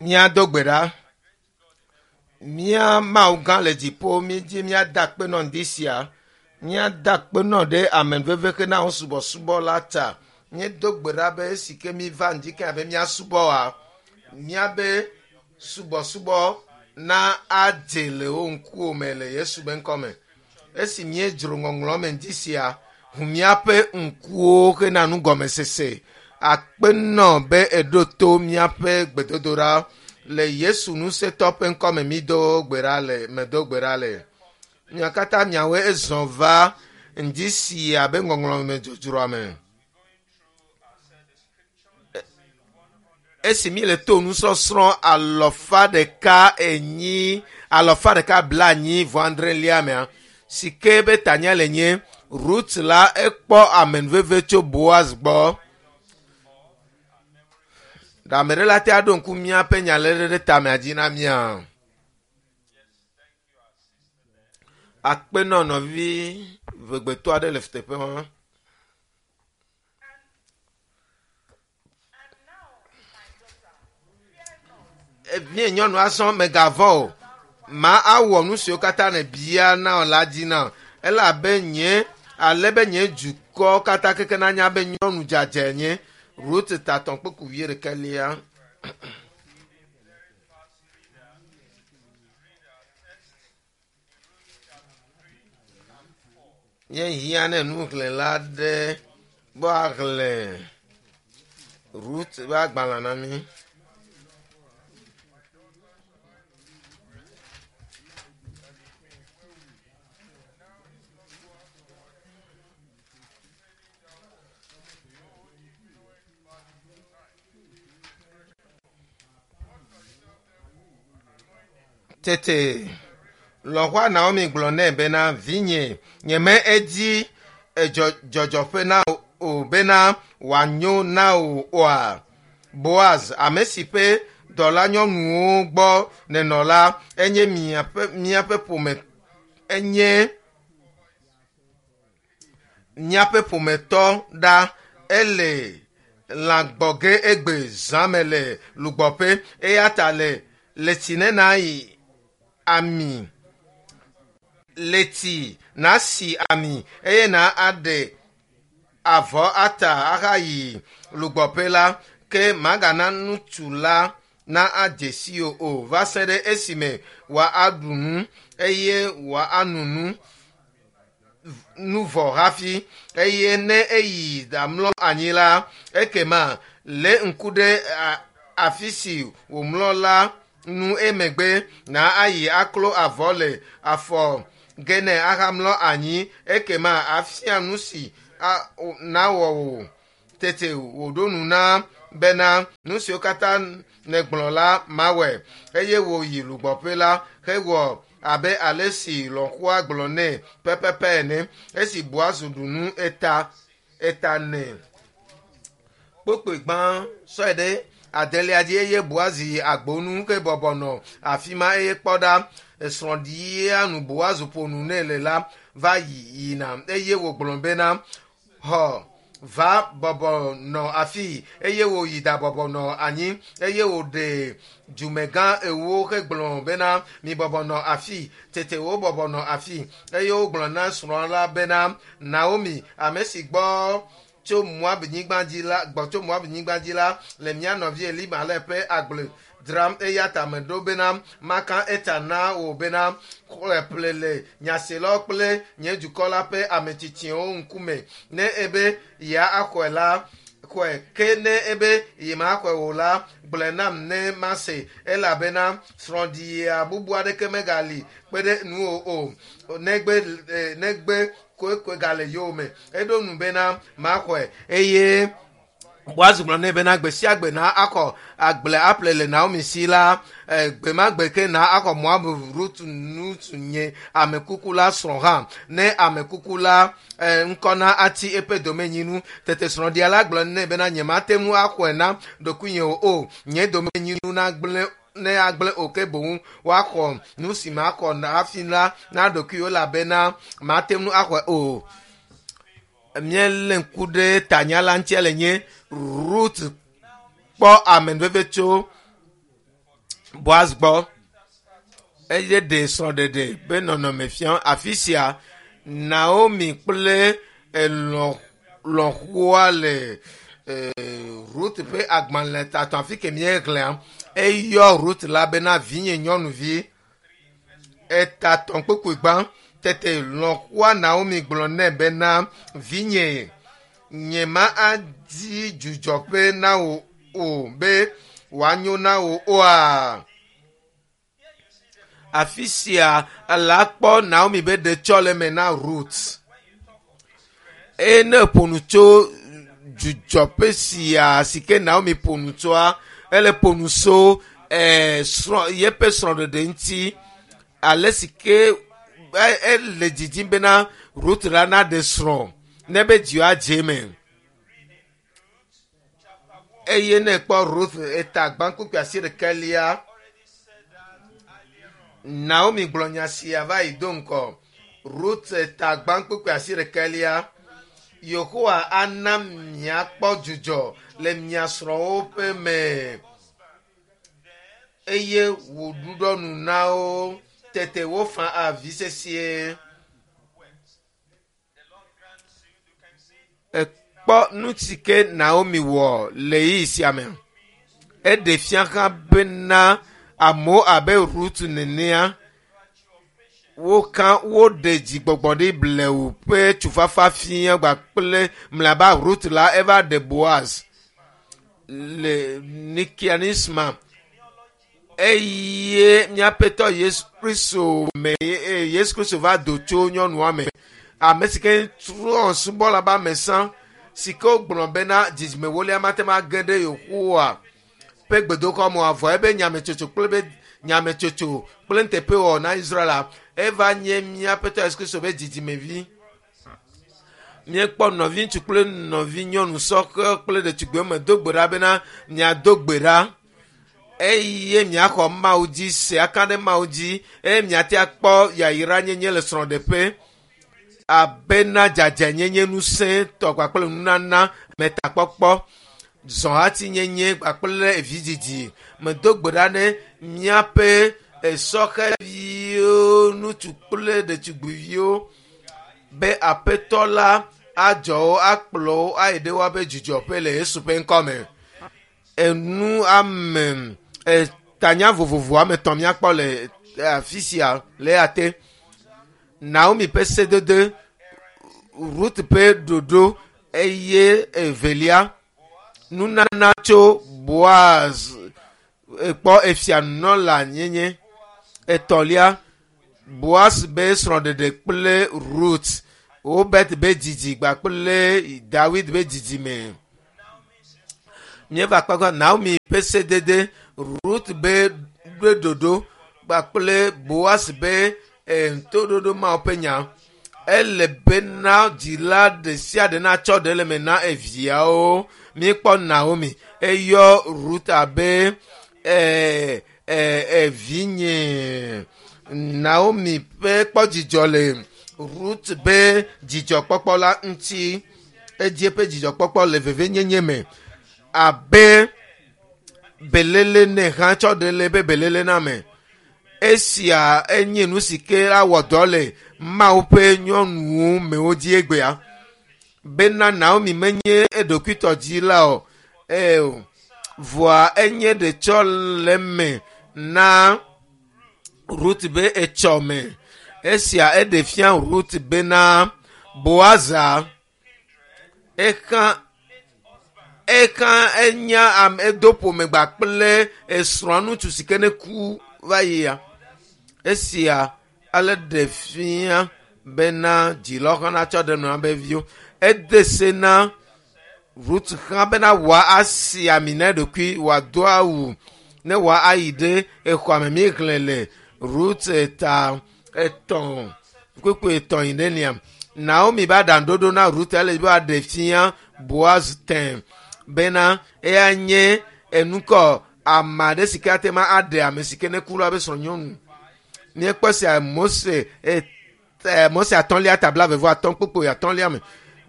Míado gbe ɖa. Mía Mawu gã le dziƒo, míedzi míada akpe nɔ ŋdi sia. Míada akpe nɔ ɖe amenuveve hena wo subɔsubɔ la ta. Míedo gbe ɖa be esi ke míva ŋdi ke abe míasubɔ wa, míabe subɔsubɔ na adze le wo ŋkuwò me le Yesu be ŋkɔ me. Esi míedzro ŋɔŋlɔ me ŋdi sia, ʋu míaƒe ŋkuwo hena nugɔmesese. Akpe nɔ be èɖo to míaƒe gbedodoɖa le Yesu ŋusẽtɔ ƒe ŋkɔ me mído gbe ɖa le medo gbe ɖa le. Mia katã miawoe ezɔ va ŋdi sia be ŋɔŋlɔ me dzodzroa me. Esi míele to nusɔsrɔ̃ alɔfa ɖeka enyi alɔfa ɖeka blaenyi vɔ adrelia mea, si ke be tanya le nye Rut la ekpɔ amenuveve tso Boaz gbɔ. Ɖe ame ɖe la te aɖo ŋku míaƒe nyaléɖe ɖe tamea dzi na mía? Akpe nɔ nɔvi ʋegbetɔ aɖe le teƒe ma. Vie nyɔnu azɔ mègavɔ̃ o. Ma awɔ nu siwo katã nèbia na wò la dzi na wò. Elabe nye ale be nye dukɔ katã keke nanya be nyɔnu dzadzɛ nye. Rut tatɔ̃ kpukpu wuiɖekɛlia. Míehiã ne nuxlẽla aɖe be woaxlẽ Rut ƒe agbalẽ na mí. Tete lɔ̃xoa Naomi gblɔ nɛ bena, Vinye, nyeme edzi dzɔdzɔƒe na wò o bena wòanyo na wò oa? Boaz, ame si ƒe dɔlanyɔnuwo gbɔ nènɔ la, enye miaƒe, míaƒe ƒome, enye míaƒe ƒometɔ ɖa. Ele lã gbɔ ge egbe zã me le lugbɔƒe. Eya ta le leti ne nayi ami, leti nasi ami eye na aɖe avɔ ata ahayi lugbɔƒe la, ke magana ŋutsu la na adze si wò o va se ɖe esime wòaɖu nu eye wòano nu. nu vɔ hafi, eye ne eyi ɖamlɔ anyi la, ekema lé ŋku ɖe afi si wòmlɔ la ŋu emegbe na ayi aklo avɔ le afɔ ge nɛ ahamlɔ anyi, ekema afia nu si nawɔ wò. Tete wòɖo nu na bena, Nu siwo katã nègblɔ la, mawɔe. Eye wòyi lugbɔƒe la hewɔ abe ale si lɔ̃xoa gblɔ nɛ pɛpɛpɛ ene. Esi Boaz ɖu nu eta eta nɛ kpokploe gbã sɔe ɖe adelia dzi eye Boaz yi agbo nu hebɔbɔ nɔ afi ma eye kpɔ ɖa, srɔ̃ɖia nu Boaz ƒo nu nɛ le la va yina eye wògblɔ bena, Xɔ va bɔbɔ nɔ afii, eye wòyi ɖabɔbɔ nɔ anyi, eye wòɖe dumegã ewo hegblɔ bena, Mibɔbɔ nɔ afii. Tete wobɔbɔ nɔ afii, eye wogblɔ na srɔ̃a la bena, Naomi, ame si gbɔ tso Moab-nyigba dzi la, gbɔ tso Moab-nyigba dzi la, le mía nɔvi Elimelek ƒe agble dzram, eya ta meɖo bena maka eta na wò bena, xɔe ƒle le nyaselawo kple nye dukɔ la ƒe ame tsitsiwo ŋkume. Ne ebe yeaxɔe la, xɔe, ke ne ebe yemaxɔe o la, gblɔe nam ne mase, elabena srɔ̃ɖia bubu aɖeke megali kpe ɖe ŋuwò o, negbe, negbe koekoe gale yowòme. Eɖo ŋu bena, Maxɔe. Eye Boaz gblɔ nɛ bena gbe sia gbe na axɔ agble aƒle le Naomi si la, eh, gbe ma gbe ke na axɔ Moab Rut ŋutsu nye ame kuku la srɔ̃ hã, ne ame kuku la eh, ŋkɔ na atsi eƒe domenyinu. Tete srɔ̃ɖia la gblɔ nɛ bena nyemate ŋu axɔe na ɖokuinye o, o nye domenyinu nagblẽ ne agblẽ o ke boŋ woaxɔ nu si maxɔ hafi la na ɖokuiwo elabena mate ŋu axɔe o. Míelé ŋku ɖe tanya la ŋuti le nye Rut kpɔ amenuveve tso Boaz gbɔ. Eye ɖe srɔ̃ɖeɖe be nɔnɔme fia afi sia Naomi kple lɔ̃xoa le Ruth ƒe agbalẽ tatɔ afi ke míexlẽa eyɔ Ruth la bena vinye nyɔnuvi etatɔ kpukpui gbã tete lɔ̃xoa Naomi gblɔ nɛ bena vinye nye ma adi dzudzɔƒe na wò o be wòanyo na wò oa. Afi sia la kpɔ Naomi be ɖetsɔleme na Ruth. Eye ne ƒo nu tso dzudzɔƒe sia si ke Naomi ƒo nu tsoa, ele ƒo nu so srɔ̃ yeƒe srɔ̃ɖeɖe ŋuti ale si ke ele didim bena Ruth la naɖe srɔ̃ ne be dziwɔ adze eme. Eye ne ekpɔ Ruth eta gbã kpukpui asiɖekelia, Naomi gblɔ nya sia va yi do ŋgɔ. Ruth eta gbã kpukpui asiɖekelia, Yehowa ana miakpɔ dzudzɔ le mia srɔ̃wo ƒe me eye wòɖuɖɔ nu na wo tete wofa avi sesĩe. Ekpɔ nu si ke Naomi wɔ le ɣeyiɣi sia me. Eɖe fia hã bena amewo abe Ruth nenea, woka woɖe dzigbɔgbɔ ɖi blewu ƒe tufafa fia kpakple mlɔeba Ruth la eva ɖe Boaz le Nikianisma eye míaƒetɔ Yesu Kristo me Yesu Kristo va do tso nyɔnua me ame si ke trɔ subɔla be ame sã si ke wogblɔ bena dzidzime wolia mate ŋu age ɖe Yehowa ƒe gbedoxɔ me avɔ ebe nyametsotso kple be nyametsotso kple nuteƒewɔwɔ na Israel eva nye míaƒetɔ Yesu Kristo be dzidzimevi. Míekpɔ nɔviŋutsu kple nɔvinyɔnu sɔhɛ kple ɖetugbiwo me do gbe ɖa bena miado gbe ɖa eye miaxɔ Mawu dzi se aka ɖe Mawu dzi eye miate akpɔ yayra nyenye le srɔ̃ɖeƒe abena dzadzɛnyenye ŋusẽ tɔ kpakple nunana metakpɔkpɔ zɔhatinyenye kpakple vidzidzi. Medo gbe ɖa ne míaƒe sɔhɛviwo, ŋutsu kple ɖetugbiviwo be aƒetɔ la adzɔ wo akplɔ wo ayi ɖe woaƒe dzudzɔƒe le Yesu ƒe ŋkɔ me. Enu ame tanya vovovo ame etɔ̃ míakpɔ le afi sia le eya te. Naomi ƒe sedede, Ruth ƒe ɖoɖo eye evelia nunana tso Boaz kpɔ efia nunɔla nyenye. Etɔ̃lia Boaz be srɔ̃ɖeɖe kple Ruth, Obed be dzidzi kpakple Dawid be dzidzime. Míeva kpakpa Naomi ƒe sedede, Ruth be ɖoɖo kpakple Boaz be toɖoɖo Mawu ƒe nya. Ele bena dzila ɖe sia ɖe natsɔ ɖe le me na eviawo. Míekpɔ Naomi eyɔ Ruth abe evinye. Naomi ƒe kpɔ dzidzɔ le Ruth be dzidzɔkpɔkpɔ la ŋuti. Edzi eƒe dzidzɔkpɔkpɔ le vevenyenye me abe belele ne hã tsɔ ɖe le be belele na me. Esia enye nu si ke awɔ dɔ le Mawu ƒe nyɔnuwo mewo dzi egbea. Bena Naomi menye eɖokuitɔ dzi la o. Eo, vɔa enye ɖetsɔleme na Ruth be etsɔme. Esia eɖe fia Ruth bena Boaza eka enya ame edo ƒome gba kple esrɔ̃a ŋutsu si ke ne ku va yia. Esia ale ɖe fia bena dzilawo hã natsɔ ɖe nɔa be viwo. Ede se na Ruth hã bena wòasi ami na eɖokui, wòado awu ne wòayi ɖe exɔa me. Míexlẽ le Ruth ta etɔ̃ kpukpui etɔ̃ yi ɖe nia. Naomi be aɖaŋuɖoɖo na Ruth ele be wòaɖe fia Boaz tẽ bena eya nye enukɔ ame aɖe si ke ate ŋu aɖe ame si ke ne ku la be srɔ̃nyɔnu. Míekpɔ sia Mose Mose atɔ̃lia ta blaeve atɔ̃ kpukpui atɔ̃lia me.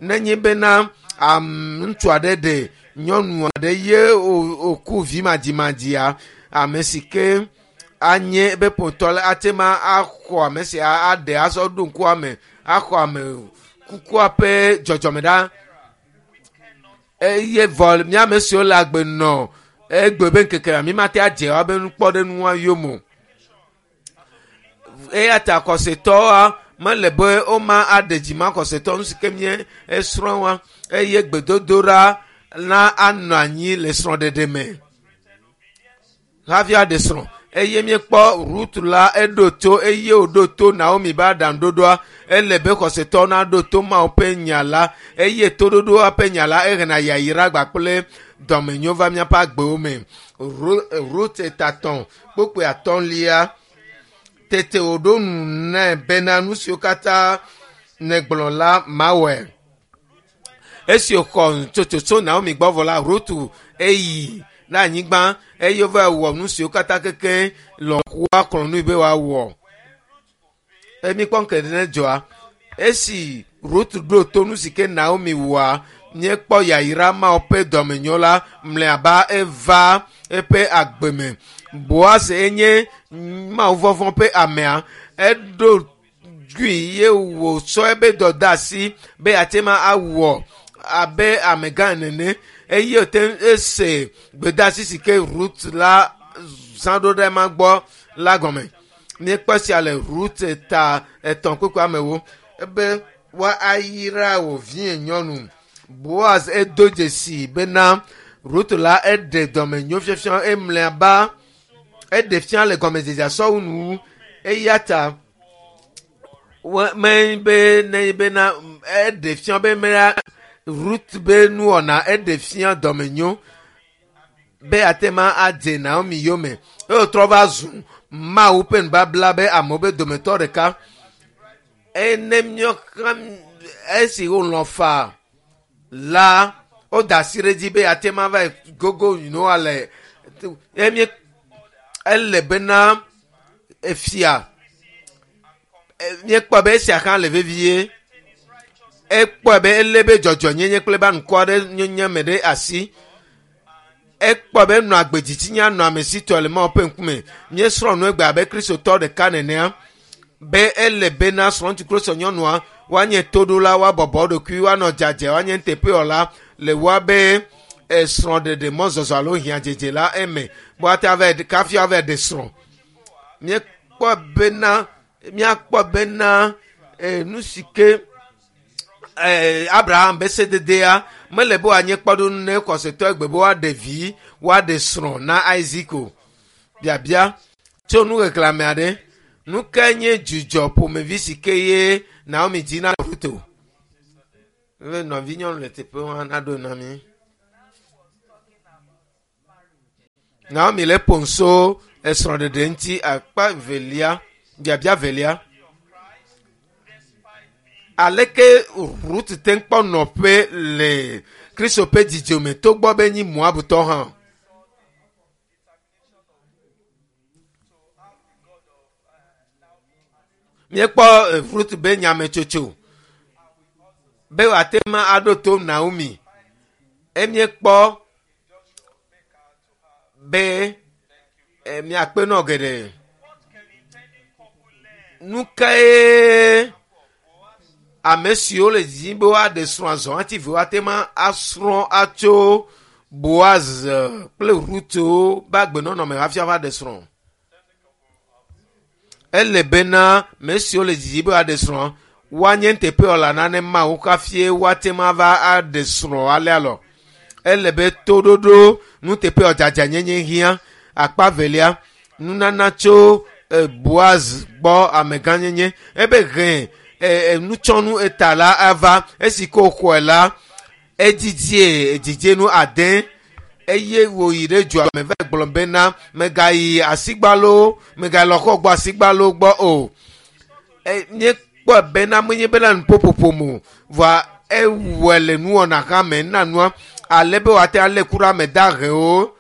Nenye bena ŋutsu aɖe ɖe nyɔnu aɖe ye wòku vi madzimadzia, ame si ke Anye ebe ƒometɔ la ate ma axɔ ame sia aɖe azɔ ɖo ŋkua me axɔ ame kukua ƒe dzɔdzɔme ɖa eye vɔ mía ame siwo le agbe nɔ egbe be ŋkeke mi mate adze woabe nukpɔɖeŋua yome o. Eya ta xɔsetɔwoa mele be woma aɖe dzi ma xɔsetɔ nu si ke mie esrɔ̃ wa eye gbedodoɖa na anɔ anyi le srɔ̃ɖeɖe me hafi aɖe srɔ̃ eye míekpɔ Rut la eɖo to eye wòɖo to Naomi be aɖaŋuɖoɖoa ele be xɔsetɔwo naɖo to Mawu ƒe nya la eye toɖoɖoa ƒe nya la ehena yayra kpakple dɔmenyo va míaƒe agbewo me. Rut tatɔ̃ kpokpoe atɔ̃lia tete wòɖo nu nɛ bena nu siwo katã nègblɔ la mawɔe. Esi wòxɔ tsotso tso Naomi gbɔ vɔ la, Rut eyi ɖe anyigba eye wova wɔ nu siwo katã keke lɔ̃xoa xlɔ̃ nui be wòawɔ. Emi kpɔ ŋke ne dzɔa. Esi Rut ɖo to nu si ke Naomi wɔa, míekpɔ yayra Mawu ƒe dɔmenyo la mlɔeba eva eƒe agbe me. Boaz enye Mawu vɔvɔ̃ ƒe amea. Eɖo dui ye wòtsɔ eƒe dɔdeasi be yeate ma awɔ abe amegã nene eye wòte ŋu ese gbedeasi si ke Rut la zã ɖo ɖe ema gbɔ la gɔme. Míekpɔ esia le Rut ta etɔ̃ kpukpui amewo ebe woayra wò vie nyɔnu. Boaz edo dzesi bena Rut la eɖe dɔmenyo fiafia emlɔeba eɖe fia le gɔmedzedzea sɔwu nu eya ta me be ne bena eɖe fia be mea Rut be nuwɔna eɖe fia dɔmenyo be ate ma adze Naomi yome eye wòtrɔ va zu Mawu ƒe nubabla be amewo be dometɔ ɖeka. Ene míɔka esi wolɔ̃ faa la woda asi ɖe edzi be ate ma va gogo Noa le emie ele bena efia míekpɔ be esia hã le vevie. Ekpɔe be elé be dzɔdzɔnyenye kple be anukɔ aɖe nyenye me ɖe asi. Ekpɔe be enɔ agbe dzitsinya nɔ ame si tɔ le Mawu ƒe ŋkume. Míesrɔ̃ nu egbe abe Kristotɔ ɖeka nenea be ele bena srɔ̃ŋutsu kple srɔ̃nyɔnua woanye toɖola, woabɔbɔ wo ɖokui, woanɔ dzadzɛ, woanye nuteƒewɔla le woabe srɔ̃ɖeɖe mɔzɔzɔ alo hiãdzedze la eme be woate ava kafi woava ɖe srɔ̃. Míekpɔ bena míakpɔ bena nu si ke Abraham be sededea mele be wòanye kpɔɖeŋu ne xɔsetɔ egbe be woaɖe vi woaɖe srɔ̃ na Isaac o. Biabia tso nuxexlẽame aɖe nu kae nye dzudzɔ ƒomevi si ke ye Naomi dzi na Rut o? Be nɔvinyɔnu le teƒe ma naɖo na mí. Naomi le ƒom so esrɔ̃ɖeɖe ŋuti akpa velia biabia velia. Aleke Rut te kpɔ nɔƒe le Kristo ƒe dzidzome togbɔ be nyi Moabutɔ hã? Míekpɔ Rut be nyametsotso be wòate ŋu aɖo to Naomi. Emiekpɔ be miakpe nɔ geɖe. Nu kae ame siwo le didim be woaɖe srɔ̃ azɔ ati ve woate ŋu asrɔ̃ atso Boaz kple Rut be agbenɔnɔ me hafi ava ɖe srɔ̃? Ele bena ame siwo le didim be woaɖe srɔ̃ woanye nuteƒewɔla na ne Mawu hafi woate ŋu ava aɖe srɔ̃ alea lɔ. Ele be toɖoɖo nuteƒewɔdzadzanyenye hiã. Akpa velia, nunana tso Boaz gbɔ amegãnyenye ebe he nutsɔnu eta la ava esi ke wòxɔe la edzidzie dzidzenu ade eye wòyi ɖe dua me va gblɔ bena megayi asigbalo megalɔ xɔ gbɔ asigbalo gbɔ o. Míekpɔe bena menye bena nuƒoƒoƒo me o vɔa ewɔe le nuwɔna hã me na nua ale be wòate alé ku ɖe ame dahewo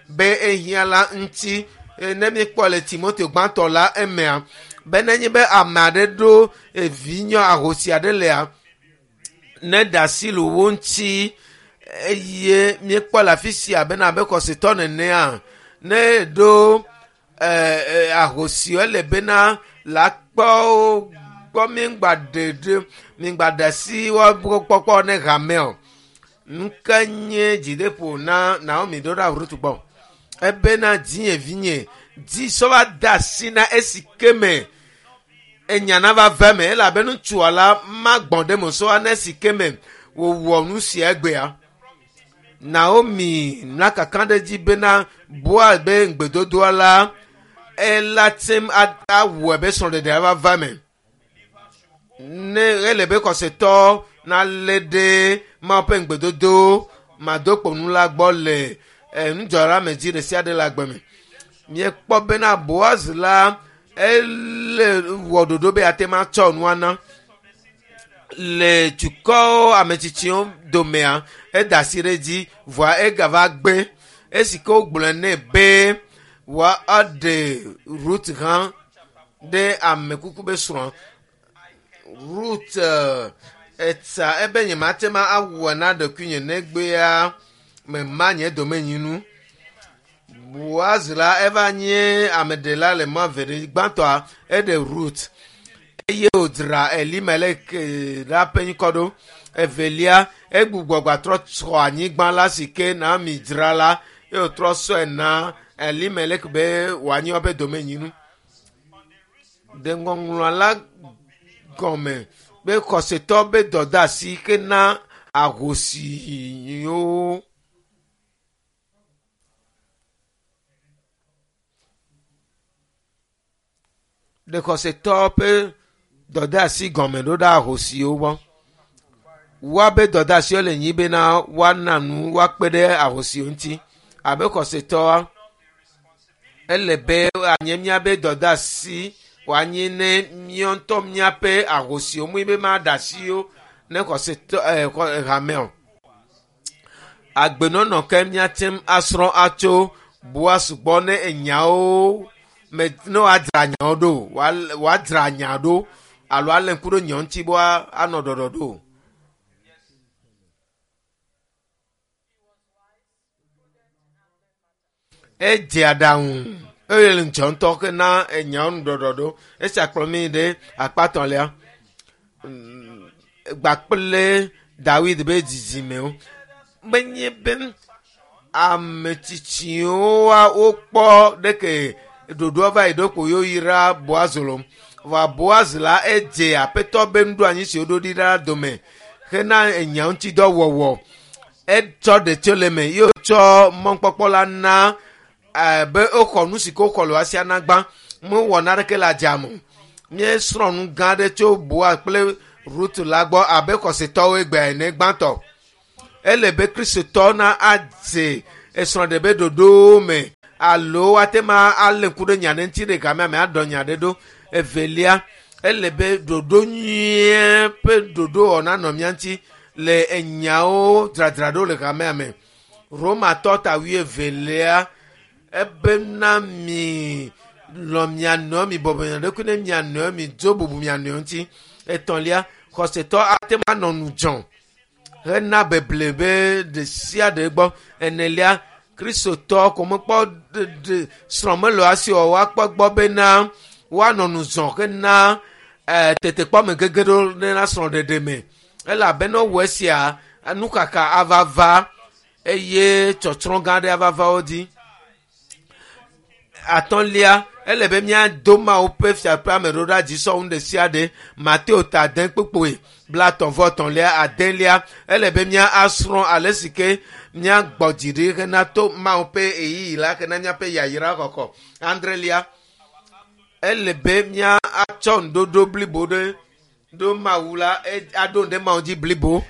be ehiã la ŋuti. Ne míekpɔ le Timoteo gbãtɔ la emea be nenye be ame aɖe ɖo evi nyɔ ahosi aɖe lea ne ɖe asi le wo ŋuti eye míekpɔ le afi sia bena abe xɔsetɔ nenea ne ɖo Ahosiwo ele bena la kpɔ gbɔ migba ɖe migba ɖe asi woaƒe kpɔkpɔ ne hame o. Nuka nye dzideƒo na Naomi ɖo ɖa Ruth gbɔ? Ebena dzinye vinye dzi sɔ va de asi na esi ke me enya nava ve me elabe ŋutsua la magbɔn ɖe me sɔ va na esi ke me wòwɔ nu sia egbea. Naomi na kakaɖedzi bena Boaz be ŋugbedodoa la ela tem awɔe be srɔ̃ɖeɖea va va me. Ne ele be xɔsetɔ nalé ɖe Mawu ƒe ŋugbedodo madokponu la gbɔ le nudzɔɖeamedzi ɖe sia ɖe le agbe me. Míekpɔ bena Boaz la ele wɔ ɖoɖo be yeate ŋu atsɔ nua na le dukɔwo ametsitsiwo domea eda asi ɖe edzi vɔa egava gbe esi ke wogblɔe nɛ be woaɖe Rut hã ɖe amekuku be srɔ̃. Rut etsa ebe nyemate ŋu awɔe na ɖokuinye negbea mema nye domenyinu. Boaz la eva nye ameɖela le mɔ eve ɖe gbãtɔa eɖe Rut eye wòdzra Elimelek la ƒe ŋkɔ ɖo. Evelia egbugbɔ gbatrɔ tsɔ anyigba la si ke Naomi dzra la eye wòtrɔ sɔe na Elimelek be wòanyi woƒe domenyinu. Ɖe ŋɔŋlɔa la gɔme be xɔsetɔ be dɔdeasi ke na ahosiwo. Ɖe xɔsetɔ ƒe dɔdeasi gɔme ɖo ɖe ahosiwo gbɔ. Woabe dɔdeasiwo le nyi bena woana nu woakpe ɖe ahosiwo ŋuti abe xɔsetɔa ele be anye míabe dɔdeasi wòanye ne míawo ŋutɔ míaƒe ahosiwo mu be maɖe asiwo ne xɔsetɔ hame o. Agbenɔnɔ ke míate ŋu asrɔ̃ atso Boaz gbɔ ne enyawo me ne woadzra nyawo ɖo woadzra nya ɖo alo alé ŋku ɖo nyawo ŋuti be woanɔ ɖɔɖɔɖo. Edze aɖaŋu eye le ŋudzɔ ŋutɔ ke na enyawo nu ɖɔɖɔɖo. Esia kplɔ mí ɖe akpa etɔ̃lia gbakple Dawid be dzidzimewo. Menye be ame tsitsiwo wokpɔ ɖeke ɖoɖoa va yi ɖo ko yewoyra Boaz lo. Vɔa Boaz la edze aƒetɔ be nuɖoanyi si woɖo ɖi la dome hena enya ŋuti dɔ wɔwɔ. Etsɔ ɖe tso le eme ye wòtsɔ mɔkpɔkpɔ la na be woxɔ nu si ke woxɔ le woasia na gbã. Mewɔ naneke le adzame o. Míesrɔ̃ nu gã aɖe tso Boaz kple Rut la gbɔ abe xɔsetɔwo egbea ene gbãtɔ. Ele be kristotɔ na adze esrɔ̃ɖe be ɖoɖowo me alo woate ŋu alé ŋku ɖe nya ɖe ŋuti ɖe gamea me aɖɔ nya ɖe ɖo. Evelia, ele be ɖoɖo nyuie ƒe ɖoɖo nanɔ mía ŋuti le enyawo dzradzraɖo le hamea me. Romatɔ ta wuievelia ebena mi lɔ̃ mia nɔewo mi bɔbɔ mia ɖokui ne mia nɔewo mi dzo bubu mia nɔewo ŋuti. Etɔ̃lia, xɔsetɔ ate ŋu anɔ ŋudzɔ hena beble be ɖe sia ɖe gbɔ. Enelia, kristotɔ ko mekpɔ ɖe srɔ̃ mele asi o woakpɔ gbɔ bena woanɔ ŋudzɔ hena tetekpɔ me gege ɖo na srɔ̃ɖeɖe me. Elabena wowɔ esia nukaka ava va eye tsɔtsrɔ̃ gã aɖe ava va wo dzi. Atɔ̃lia, ele be míado Mawu ƒe fiaƒea me ɖo ɖa dzi sɔwu ɖe sia ɖe. Mateo ta ade kpukpui blaetɔ̃ vɔ etɔ̃lia adelia. Ele be mía asrɔ̃ ale si ke míagbɔ dzi ɖi hena to Mawu ƒe ɣeyiɣi la hena míaƒe yayra xɔxɔ. Adrelia, ele be mía atsɔ nuɖoɖo blibo ɖe ɖo Mawu la aɖo ɖe Mawu dzi blibo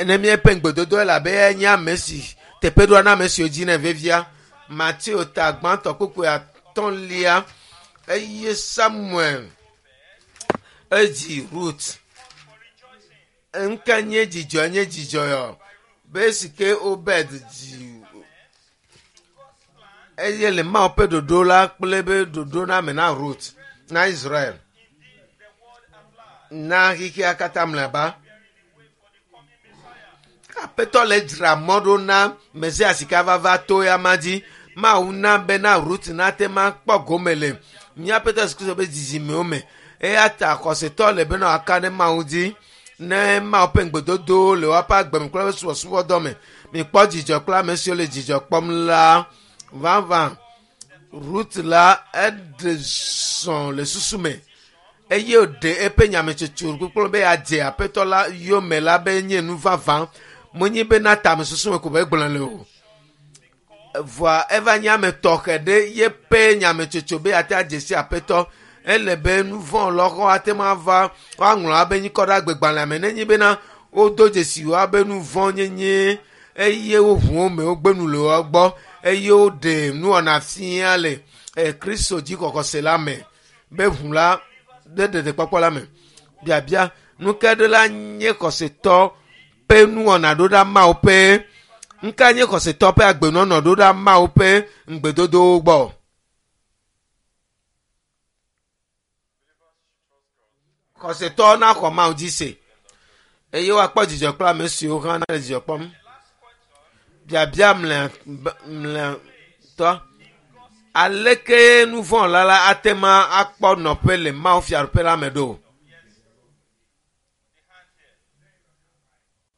ne míaƒe ŋugbedodo elabe enye ame si teƒeɖoa na ame siwo dzi nɛ vevia. Mateo ta gbãtɔ kpukpui atɔ̃lia eye Samuel edzi Rut. Ŋke nye dzidzɔ nye dzidzɔ yɔ be esi ke Obed dzi eye le Mawu ƒe ɖoɖo la kple be ɖoɖo na me na Rut na Israel na xexea katã mlɔeba. Aƒetɔ le dzra mɔ ɖo na Mesia si ke ava va to ya ma dzi. Mawu na bena Rut nate ma kpɔ gome le míaƒe Yesu Kristo ƒe dzidzimewo me. Eya ta xɔsetɔ le bena wòaka ɖe Mawu dzi ne Mawu ƒe ŋugbedodowo le woƒe agbe me kple woƒe subɔsubɔdɔ me. Mikpɔ dzidzɔ kple ame siwo le dzidzɔ kpɔm la vavã. Rut la eɖe zɔ le susu me eye wòɖe eƒe nyametsotso kpokplo be yeadze aƒetɔ la yome la be nye nu vavã menye bena tamesusu me ko be egblɔ le o. Vɔa eva nye ame tɔxɛ ɖe yeƒe nyametsotso be yeate adze si aƒetɔ. Ele be nu vɔ̃ lɔxɔ ate ŋu ava woaŋlɔ abe nyikɔ ɖe agbegbalẽa me nenye bena wodo dzesi woabe nu vɔ̃ nyenye eye woʋu wo me wogbe nu le wo gbɔ eye woɖe nuwɔna fia le Kristo dzixɔxɔse la me be ʋu la ɖe ɖeɖekpɔkpɔ la me. Biabia nu ke ɖe la nye xɔsetɔ ƒe nuwɔna ɖo ɖa Mawu ƒe nuka nye xɔsetɔ ƒe agbenɔnɔ ɖo ɖa Mawu ƒe ŋugbedodowo gbɔ? Xɔsetɔ naxɔ Mawu dzi se eye woakpɔ dzidzɔ kple ame siwo hã le dzidzɔ kpɔm. Biabia mlɔetɔ aleke nu vɔ̃ la la ate ŋu akpɔ nɔƒe le Mawu fiaɖuƒe la me ɖo?